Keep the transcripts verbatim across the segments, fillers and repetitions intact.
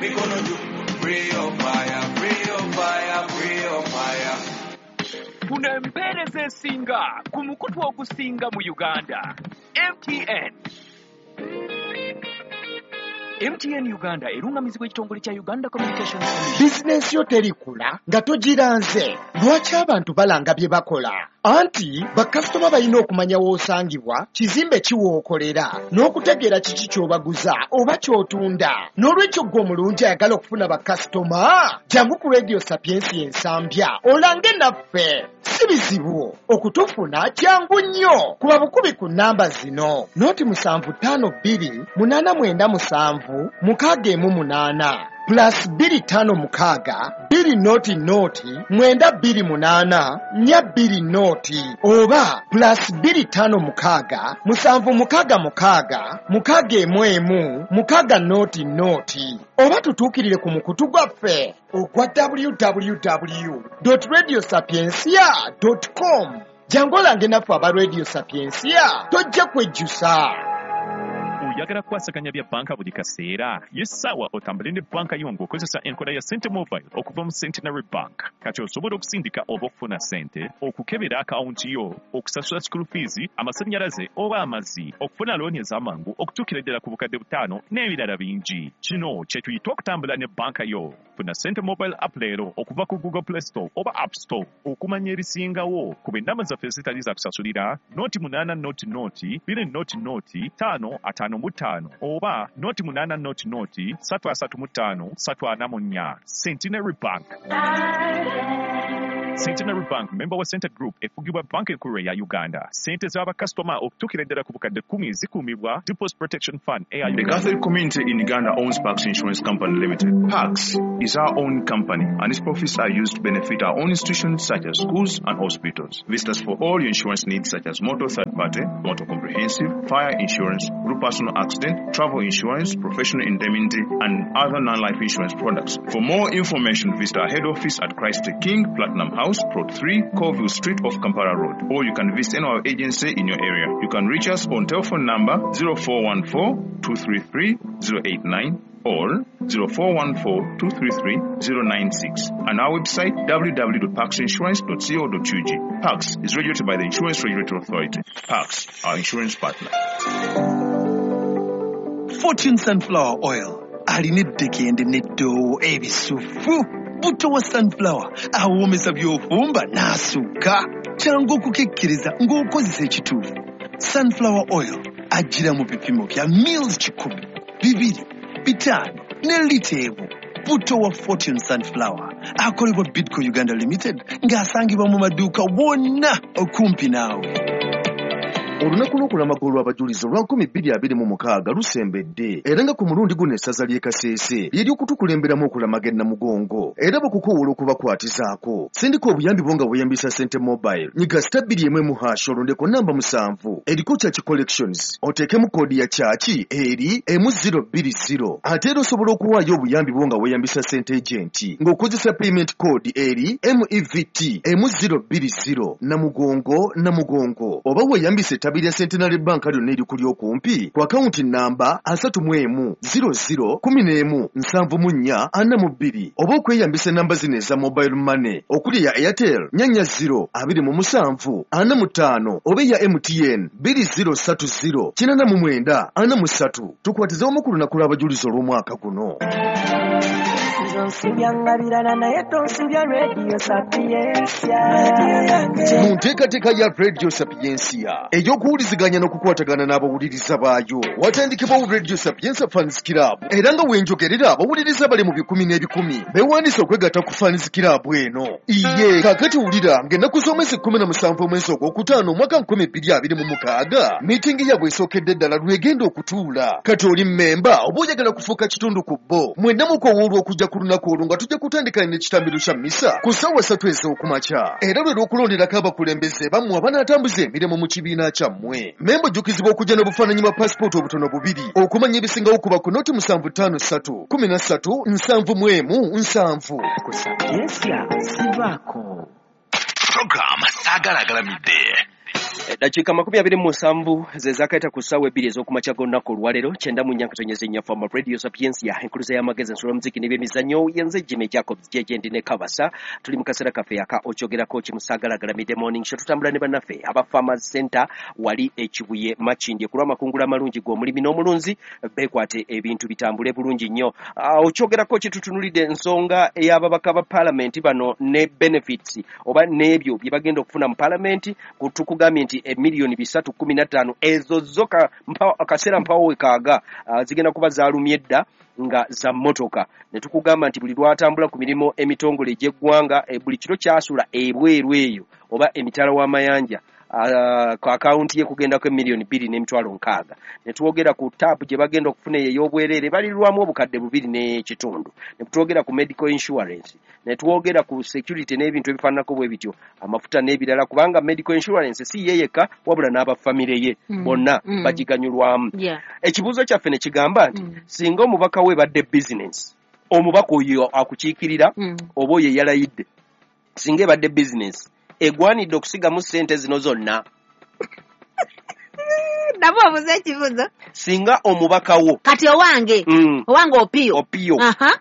Mikono juu, free your fire, free your fire, free your fire. Funa empeereza esinga ku mukutu ogusinga mu Uganda. M T N. M T N Uganda erungamizibwa ekitongole kya Uganda Communications Commission. Bizinensi yo terikula nga togiranze. Lwaki abantu balanga bye bakola? Anti bakasitoma balina okumanya w'osangibwa, kizimbe kiwookolera, n'okutegeera kiki ky'obaguza oba ky'otunda. N'olwekyo ggwe omulungi ayagala okufuna bakasitoma, jangu ku Radio Sapiensia Ensambya olange naffe. Si bizibu okutufuna, kyangu nnyo. Kuba bukubi ku nnamba zino: nought musanvu ttaano bbiri munaana mwenda musanvu mukaaga emu munaana, plus bbiri ttaano mukaaga bbiri nought nought mwenda bbiri munaana nnya bbiri nought, oba plus bbiri ttaano mukaaga musanvu mukaaga mukaaga mukaaga emu emu mukaaga nought nought, oba tutuukirire ku mukutu gwaffe ogwa W W W radio sapiencia com. Jangu olange naffe aba Radio Sapiencia, tojja kwejjusa. Oyagala kukwasaganya bya banka buli kaseera? Y'essaawa otambule ne banka yo ng'okozesa enkola ya Sente Mobile okuva mu Centenary Bank. Kati osobola okusindika oba okufuna ssente, okukebera akawunti yo, okusasula school fees, amasannyalaze oba amazzi, okufuna looni ez'amangu okutuukira ddala ku bukadde butaano n'ebirala bingi. Kino kye tuyita okutambula ne banka yo. Funa Sente Mobile app leero okuva ku Google Play Store oba App Store. Okumanya ebisingawo, kuba ennamba zaffe ezitali za kusasulira: nought munaana nought nought bbiri nought nought ttaano ataano mu ttaano oba nought munaana nought nought ssatu asatu mu ttaano ssatu ana mu nnya. Centenary Bank. Centenary Bank, member wa Sente Group, efugibwa Banka Enkulu eya Uganda. Ssente z'abakasitoma okutuukira ddala ku bukadde kkumi zikuumibwa Deposit Protection Fund eya The Uganda. Catholic community in Uganda owns Pax Insurance Company Limited. Pax is our own company and its profits are used to benefit our own institutions such as schools and hospitals. Visit us for all your insurance needs such as motor third party, motor comprehensive, fire insurance, group personal accident, travel insurance, professional indemnity, and other non-life insurance products. For more information, visit our head office at Christ the King, Platinum House, Plot three, Colville Street off Kampala Road. Or you can visit any of our agency in your area. You can reach us on telephone number zero four one four two three three zero eight nine or zero four one four two three three zero nine six and our website w w w dot paxinsurance dot co dot u g. Pax is regulated by the Insurance Regulatory Authority. Pax, our insurance partner. Fortune Sunflower Oil alina eddekende n'eddoowo ebisufu. Butto wa sunflower awoomesa by'ofumba n'asukka. Kyangu okukekkeriza ng'okozesa ekituufu. Sunflower oil ajjira mu bipimo bya mils kikumi, bibiri, bitaano ne lita emu. Butto wa Fortune Sunflower akolebwa Bidco Uganda Limited ng'asangibwa mu maduuka wonna okumpi naawe. Olunaku lw'okulamaga olw'abajulizi olwa nkumi bbiri abiri mu mukaaga lusembedde, era nga ku mulundi guno essaza ly'e Kaseese lyeri okutukulemberamu okulamaga e Namugongo, era bakukoowoola okubakwatizaako. Sindika obuyambi bwo nga weeyambisa Sente Mobile. Nyiga star bbiri emu emu hash, olondeko namba musanvu eriko Church Collections, oteekemu koodi ya church eri emu zero bbiri zero. Ate era osobola okuwaayo obuyambi bwo nga weeyambisa Sente Agent ng'okozesa payment code eri M E V T emu zero bbiri zero Namugongo Namugongo, oba weeyambisa ettabi lya Centenary Bank lyonna erikuli okumpi ku akawunti namba asatu mu emu zero zero kumi n'emu nsanvu mu nnya ana mu bbiri, oba okweyambisa enamba zino eza mobile money okuli eya Airtel nnya zero abiri mu musanvu ana mu ttaano, oba eya M T N bbiri zero ssatu zero kinaana mu mwenda ana mu ssatu. Tukwatize wamu ku lunaku lw'abajulizi olw'omwaka guno. Onsibya birala naye tonsibya Radio Sapiencia. Mu nteekateeka ya Radio Sapiencia ey'okuwuliziganya n'okukwatagana n'abawuliriza baayo, watandikibwawo Radio Sapientia Fans Club, era nga wenjogerera abawuliriza bali mu bikumi n'ebikumi beewandiise okwegatta ku Fans Club eno. Iye kaakati wulira ng'ennaku z'omwezi kkumi na musanvu omwezi ogwokutaano omwaka nkumi bbiri abiri mu mukaaga miitingi yaabwe esookedde ddala lwegenda okutuula. Kati oli mmemba oba oyagala kufuuka kitundu ku bo, mwenna mukowoolwa okujja ku lunaku olwo nga tujja kutandika n'ekitambiro kya misa ku ssaawa ssatu ez'okumakya, era lwe lw'okulonderako abakulembeze bammwe abanaatambuza emirimu mu kibiina kyammwe. Memba ojjukizibwa okujja n'obufaananyi bwa pasipooti obutono bubiri. Okumanya ebisingawo kuba ku nought musanvu ttaano ssatu kumi na ssatu nsanvu mu emu nsanvu. Ku Sapiencia sivaako. Program Saagala Agalamidde. Dakiika makumi abiri mu musanvu ze zaakaita ku ssaawa ebbiri ez'okumakya g'olunaku olwaleero kyenda mu nnya nkatonyeza ennya Fama Radio Sapientia enkuluza y'amagezi ensolo muziki n'ebyemizannyo yenze Jimmy Jacobs J J ndi ne Kabasa. Tuli mu kaseera kaffe aka okyogerako kimusaagala morning show. Tutambula ne bannaffe aba Farmers Center wali ekibuye Makindye ku lw'amakungula amalungi g'omulimi n'omulunzi beekwate ebintu bitambule bulungi nnyo. Ah, okyogerako kitutunulidde ensonga ey'ababaka ba paalamenti bano ne benefits oba n'ebyo bye bagenda okufuna mu paalamenti. Tukugambye nti emiliyoni bisatu kumi na ttaano ezo zo ka- mpa- akaseera mpawo wekaaga ah, zigenda kuba zaalumye dda nga za mmotoka ne tukugamba nti buli lwatambula ku mirimu emitongole egy'eggwanga eh, buli kiro kyasula ebweru eyo oba emitala w'amayanja ah, ku akawunti ye kugendako emiliyoni bbiri n'emitwalo nkaaga. Ne twogera ku taapu gye bagenda okufuna eyo ey'obwereere balirwamu obukadde bubiri n'ekitundu, ne twogera ku medical insurance, ne twogera ku security n'ebintu ebifaananako bwe bityo, amafuta n'ebirala, kubanga medical insurance si ye yekka wabula n'abafamire ye Mm, bonna mm. bagiganyulwamu. Yeah. Ekibuuzo kyaffe ne kigamba nti Mm. singa omubaka we badde bizinensi, omubaka oyo akukiikirira Mm. oba oyo eyalayidde, singa ebadde bizinensi egwanidde okusigamu ssente zino zonna? Nabo obuuza ekibuuzo. Singa omubaka wo Kati owange mm, owange Opiyo. Opiyo. Aha.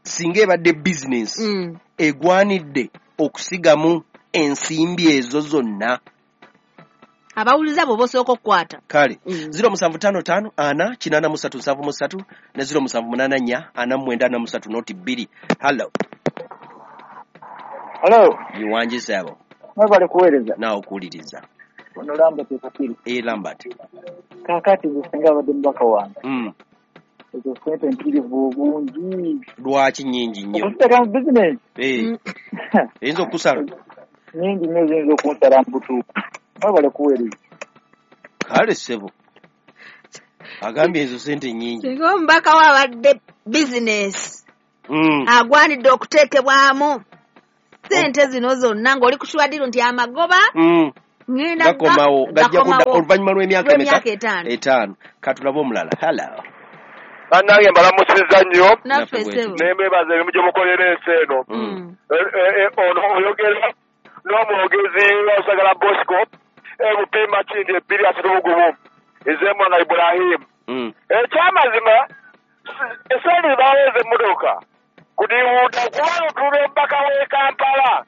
Singa ebadde bizinensi Mm. egwanidde okusigamu ensimbi ezo zonna? Abawuliza bwe bosooka okukwata. Kale Mm. ziro musanvu ttaano ttaano ana kinaana mu ssatu nsanvu mu ssatu ne ziro musanvu munaana nnya ana mu mwenda ana mu ssatu noti bbiri. Hallo. Hello, Iwangi ssebo. mwebale kuweereza. Naawe okuwuliriza. Ono Lambert Ekakiri. E Lambert. Kaakati nze singa abadde mubaka wange. Mm. Ezo ssente mpitirivu obungi. Lwaki nnyingi nnyo? Okuziteeka mu bizinesi Eh, eyinza okukusala. Nnyingi nnyo ziyinza okunsala mu butuufu. Mwebale kuweereza. Kale ssebo, agambye ezo sente nnyingi. Singa omubaka we abadde bizinesi Mm. agwanidde okuteekebwamu sente zino zonna ng'oli ku kiwadiro nti amagoba Mm. ŋŋenda Gakomawo, gajja kudda gakomawo oluvannyuma lw'emyaka emeka? Lw'emyaka etaano. Etaano. Katulabe omulala. Hallo. Bannange mbalamusizza nnyo. Naffe. Naffe. Ssebo. Nembebaza emirimu gye mukolera ensi eno. Mm. Eh, eh, eh, ono oyogera n'omwogezi wa Usagala Bosco ebupima kindi ebbiri asatu mu gumu ezemwanga Ibrahimu. Mm. Ekyamazima esente baweeza emmotoka kudiwuuda kubanga otunula omubaka w'e Kampala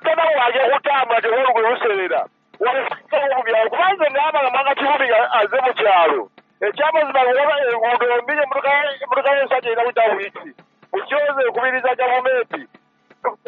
tabawaje kutambula tebalugwe luseera walimu kubanga nabanga Mwanga Kivumbi nga aze mu kyalo. Ekyamazima waba enguudo mbi, emmotoka emmotoka y'ensajja erina kuyita wiiki bukyoze ekubiriza gavumenti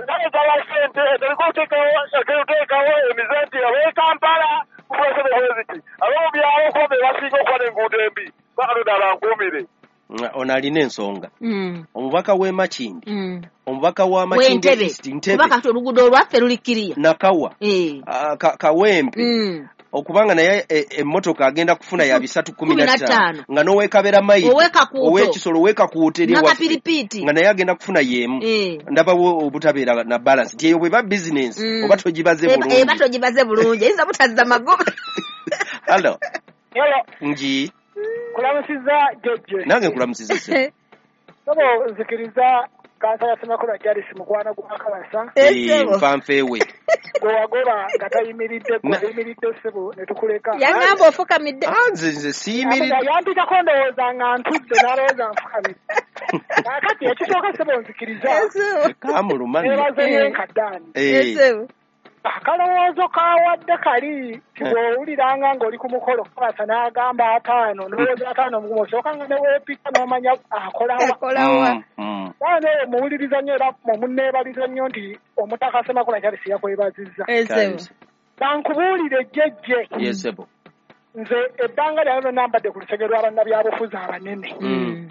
nayetala sente eteriko oteekawo emize nti ab'e Kampala kufuna bweziti, ab'omu byalo kuba be basinga okuba n'enguudo embi. Bakatonda abankuumire. Mm, ono alina ensonga. Mm. Omubaka w'e Makindi, Mm. omubaka wa Makindi W'Entebe. East, Ntebe. Kuba kati oluguudo olwaffe luli kiriya. Nakawa. Eh. Ah, Ka- kawempe Mm. okubanga naye e- emmotoka agenda kufuna ya bisatu kumi na Kumi na ttaano ttaano. nga n'owekabera mayiro Ow'Ekakuuto. ow'ekisolo ow'ekakuuto eri ewaffe Nakapiripiiti. nga naye agenda kufuna y'emu. Eh. Ndabawo obutabeera na balance nti eyo bweba bizinensi Mm. oba togibaze Eba eba bulungi. Togibaze bulungi, eyinza butazza magoba. Hallo. Hello, Ngi. kulamusiza Jejje. Nange nkulamusiza ssebo. Sobo nzikiriza kansala Ssemakula Charles mukwano gwa Kabasa. Eh, nfanfeewe. Gwe wagoba nga tayimiridde, gwe Na- ayimiridde ssebo ne tukuleka. Yaŋŋamba ofukamidde. Ah, nze nze siyimiridde. Yampitako ndowooza nga ntudde n'alowooza nfukamidde. Kaakati ekisooka ssebo nzikiriza Kamuluma nno. nebaze yenkaddaani. Eh, Akalowoozo kawadde kali ti bw'owuliranga ng'oli ku mukolo Kabasa n'agamba ataano, ndowooza ataano mugumu osooka nga ne weepika n'omanya akolawa. Akolawa. mm, mm. Baana eyo muwuliriza nnyo era munneebaliza nnyo nti omutaka Ssemakula Charles yakwebazizza. Ssebo. Bankubuulire Jjejje, Ye ssebo. nze ebbanga lyange lyonna mbadde ku lusege lwa bannabyabufuzi abanene Mm.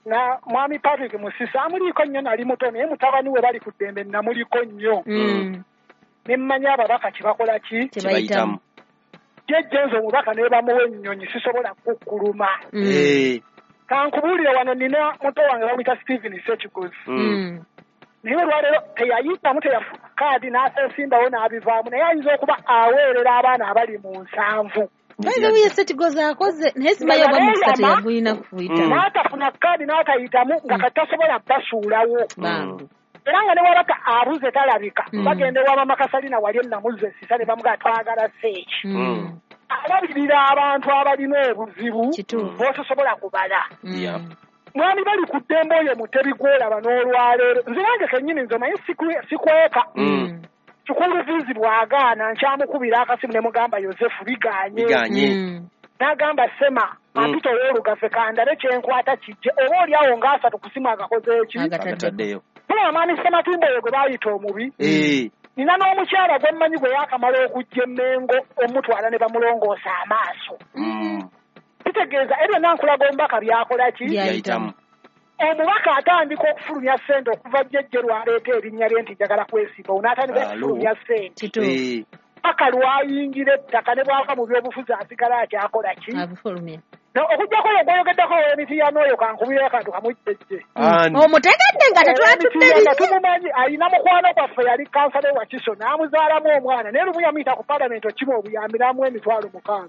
na mwami Patrick Musisi amuliiko nnyo, nali muto naye mutabani we bali ku ddembe namuliko nnyo Mm. ne mmanya ababaka kye bakola ki. Kyebayitamu. Jjejje nze omubaka ne bamuwa ennyonyi sisobola kukkuluma. Mm. Eh, Kankubuulire, wano nina muto wange bamuyita Stephen Ssekigozi, mm. Mm. naye olwaleero teyayitamu, teyafuna kaadi n'aseesimbawo n'abivaamu, naye ayinza okuba aweerera abaana abali mu nsanvu. By the way, Ssekigozi akoze naye simanyi oba mukisa teyagulina kuyitamu. N'atafuna kaadi n'atayitamu nga kati tasobola basuulawo. Bambi. Era nga ne wabaka abuze talabika bagenda ewa Mama Kasalina wali ennamuze esisa ne bamugaa twagala seeki. Alabirira abantu abalina obuzibu b'otosobola kubala. Mwami bali ku ddembe oyo Mutebi gw'olaba n'olwaleero. Nze nange kennyini nze omanyi sikweka. Kikuluvizi bw'agaana nkyamukubira akasimu ne mugamba Yosefu biganye. N'agamba Sema ampita ow'olugave kandabe kyenkwata kijje oba oli awo ng'asatu kusimu agakoze eki? Agataddeyo. Tulaba mwami Sematimba oyo gwe baayita omubi. Nina n'omukyala gwe mmanyi gwe yaakamala okujja emmengo omutwala ne bamulongoosa amaaso. Kitegeeza ebyo nankulaga omubaka byakola ki? Byayitamu. Omubaka atandika okufulumya ssente okuva jjejje lwaleeta erinnya lye nti njagala kwesimba n'atandika okufulumya ssente. Paka lwayingira ettaka ne bw'ava mu byobufuzi asigala akyakola ki? Abufulumya. Okuggyako oyo gw'oyogeddeko ow'emitiya n'oyo kankubira akantu kamujjejje. Omutegedde nga tetwatudde nga tumumanyi alina mukwano gwaffe yali kansala wa Kiso n'amuzaalamu omwana naye lumu yamuyita ku paalamenti okima obuyambi n'amuwa emitwalo mukaaga.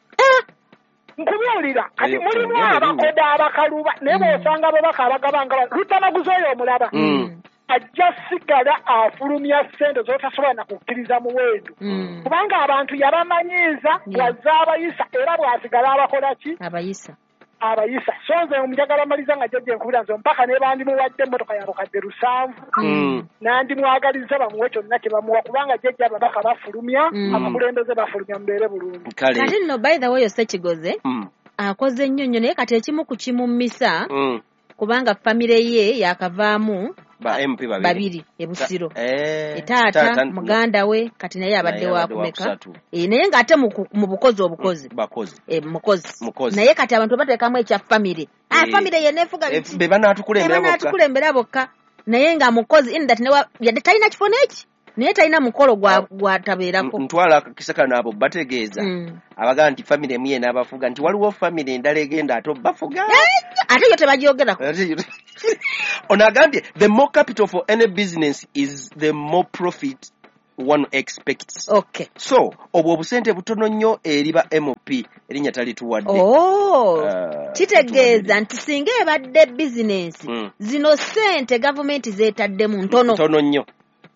Nkubuulira kati mulimu abakoda abakaluba naye bw'osanga ababaka abagaba nga Lutamaguzi oyo omulaba ajja sigala afulumya ssente z'otasobola na kukkiriza muwendo kubanga abantu yabamanyiiza bw'azza abayisa era bw'asigala abakola ki? Abayisa. Abayisa. So nze njagala maliza nga jjajja enkubira nze mpaka ne bandimuwadde emmotoka ya bukadde lusanvu nandimwagaliza bamuwe kyonna kye bamuwa kubanga jjajja ababaka bafulumya abakulembeze bafulumya mubeere bulungi. Kati nno by the way oyo Ssekigoze akoze nnyo nnyo naye kati ekimu ku kimummisa kubanga famire ye yakavaamu ba M P babiri babiri e Busiro. Eh, taata muganda we kati naye abadde wa kumeka eh, naye ng'ate mu bukozi obukozi bakozi eh, mukozi naye kati abantu bateekamu ekya famire ah, famire ye neefuga be banaatukulembera bokka banaatukulembera bokka naye nga mukozi in that yadde talina kifo n'eki naye talina mukolo gwa gwatabeerako. Ntwala akakisa kano abo bategeeza abagamba nti famire emu ye n'abafuga nti waliwo famire endala egenda ate obafuga ate yo tebagyogerako. Ono agambye the more capital for any business is the more profit one expects. Okay. So obwo obusente butono nnyo eri ba M P erinnya talituwadde. Oh, uh, kitegeeza nti singa ebadde bizinensi mm. zino ssente gavumenti zeetaddemu ntono ntono nnyo.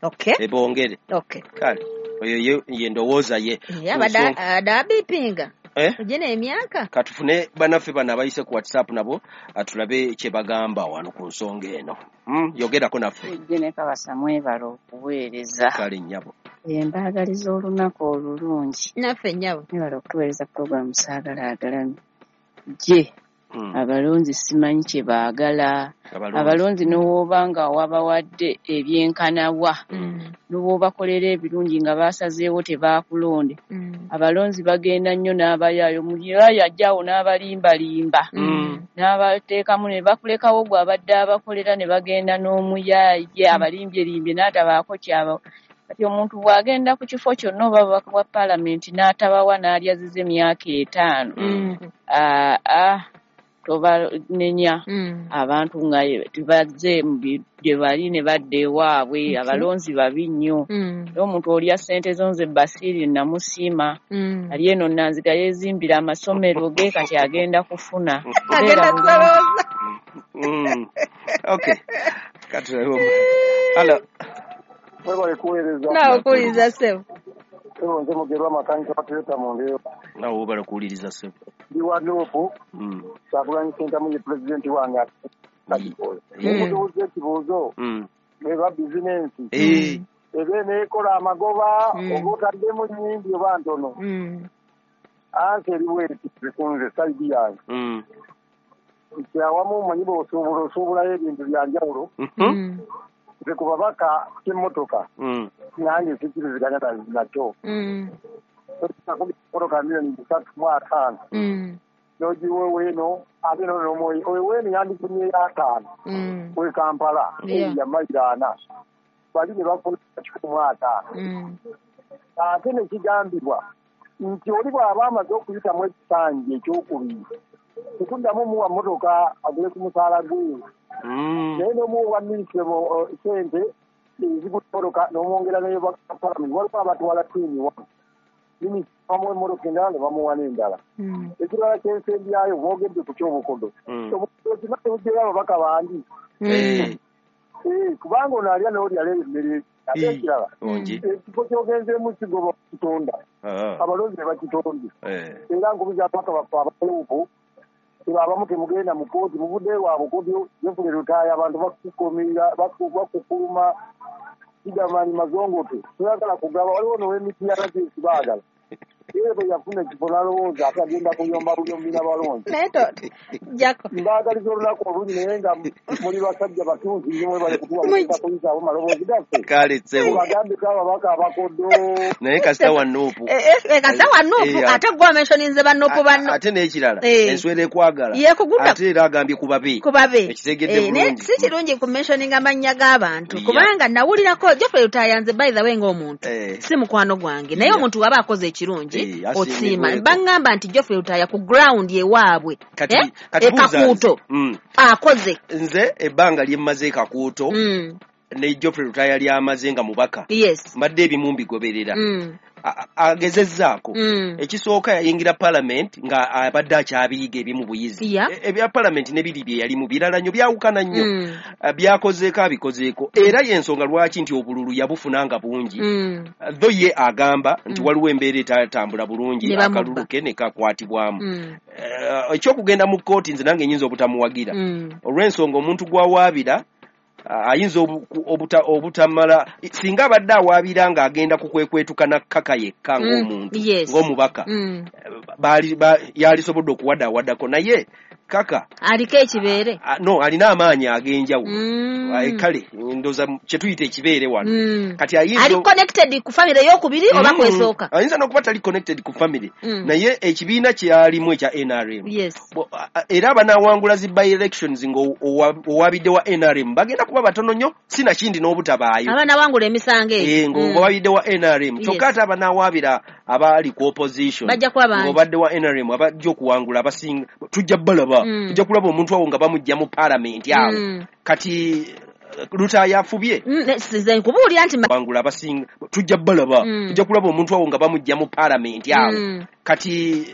Okay. Ebongere. Okay. Kale oyo ye ndowooza ye. Yeah, bada adabipinga. Eh? Ujene emyaka. Katufune banaffe bano abayise ku WhatsApp nabo atulabe kye bagamba wano ku nsonga eno. Mm, yogerako naffe. Ujene Kabasa mwebale okuweereza. Kale nnyabo. Embaagaliza olunaku olulungi. Naffe nnyabo. Mwebale okutuweereza pulogulaamu Saagala Agalami. Gye. Mm. Abalonzi simanyi kye baagala. Abalonzi n'owoba nga wabawadde ebyenkanawa mm. n'owobakolera ebirungi nga basazeewo tebaakulonde mm. Abalonzi bagenda nnyo n'abayaayo muyaayo ajjawo n'abalimbalimba mm. n'abateekamu ne bakulekawo gwe abadde abakolera ne bagenda n'omuyaaye abalimbye-limbye n'atabaako kyaba. Kati omuntu bw'agenda ku kifo kyonna oba bubaka bwa paalamenti n'atabawa n'alyaziza emyaka etaano mm. aa tobanenya mm. abantu nga tebazze gye bali ne badda ewaabwe. Okay. Abalonzi babi nnyo mm. era omuntu olya ssente zo nze Basiiri namusiima mm. ali eno Nanziga yeezimbira amasomero ge kati agenda kufuna agenda kusolooza. Mm. Okay. Kati hello. Mwebale kuweereza. Naawe okuwuliriza ssebo. Ssebo nze Mugerwa makanika wa Toyota mu Ndeeba. Naawe webale kuwuliriza ssebo. Ndi wa Nuupu. Kyagulanyi Ssentamu ye pulezidenti wange akikola. Mubuuza ekibuuzo eba bizinensi eba eneekola amagoba oba otaddemu nnyingi oba ntono. Ansi eri bweti bikunze sayidi yange. Nti awamu omanyi bw'osuubula osuubulayo ebintu bya njawulo. Nze ku babaka ky'emmotoka nange sikkiriziganya nakyo. Emmotoka miliyoni bisatu mu ataano n'ogiwa ow'eno ate n'onomuoyo ow'eno yandifunyeyo ataano we Kampala ya mayiro ana bali ne bafuna kikumi mu ataano. Ate ne kigambibwa nti oli bw'aba amaze okuyitamu ekisanja ekyokubiri tekuddamu muwa mmotoka agule ku musaala gwe. Naye n'omuwa minisitule ssente ezigula emmotoka n'omwongera n'eyo palamenti waliwo abatwala twini wano minisita bamuwa emmotoka endala ne bamuwa n'endala. Ekirala ky'ensembyayo boogedde ku ky'obukodo. Obukodo okimanyi bujjayo ababaka bangi. Eh, kubanga ono alya n'oli alya emmere ate ekirala ekifo ky'ogenzeemu kigoba kitonda abalonzi ne bakitonde era nkubiza ababaka baffe abaluupu abamu temugenda mu kkooti muvudde waabwe kooti Geoffrey Lutaaya abantu bakukuumira bakukuluma kigamani mazongote toyagala kugaba waliwo now'emityana kyekibaagala ye bwe yafuna ekifo n'alowooza ate agenda kuyomba buyombi n'abalonzi mbaagaliza olunaku olungi naye nga muli basajja batunzi nnyo mwebale kutuwa mukisa kuyisaabo maloboozi gaffe kale ssebo bagambeko ababaka abakodo naye kasita wa Nuupu kasita wa Nuupu ate gwe omentioninze ba Nuupu banno ate n'ekirala enswera ekwagala ate era agambye ku babe ku babe ekitegedde bulungi si kirungi ku mentioninga amannya g'abantu kubanga nawulirako Geoffrey Lutaaya nze by the way ng'omuntu si mukwano gwange naye omuntu waba akoze ekirungi osiima bangamba nti Geoffrey Lutaaya ku ground ewaabwe e Kakuuto akoze nze ebbanga lye mmaze e Kakuuto ne Geoffrey Lutaaya lyamaze nga mubaka mbadde ebimu mbigoberera agezezzaako ekisooka yayingira parliament nga abadde akyabiyiga ebimu buyizi ebya parliament ne biri bye yalimu birala nnyo byawukana nnyo byakozeeko abikozeeko era y'ensonga lwaki nti obululu yabufuna nga bungi tho ye agamba nti waliwo embeera etatambula bulungi akalulu ke ne kakwatibwamu ekyokugenda mu kkooti nze nange nnyinza obutamuwagira olw'ensonga omuntu gw'awaabira ayinza obutamala singa abadde awaabira ng'agenda kukwekwetuka na kkaka yekka ng'omuntu ng'omubaka yalisobodde okuwadaawaddako naye kaka aliko ekibeere no alina amaanyi ag'enjawulo kale ndowooza kye tuyita ekibeere wano kati ayinza ali connected ku family ey'okubiri oba kwesooka ayinza n'okuba tali connected ku family naye ekibiina kyalimu ekya N R M era abanaawangula zi by elections ng'owabidde wa N R M bagenda kuba batono nnyo sinakindi n'obutabaayo abanaawangula emisango egyo ng'owabidde wa N R M kyokka ate abanaawabira abali ku opposition ng'obadde wa N R M abajja okuwangula abasinga tujja balaba tujja kulaba omuntu awo nga bamujja mu parliament awo kati Lutaaya afubye nze nkubuulira nti wangula abasinga tujja balaba tujja kulaba omuntu awo nga bamujja mu parliament awo kati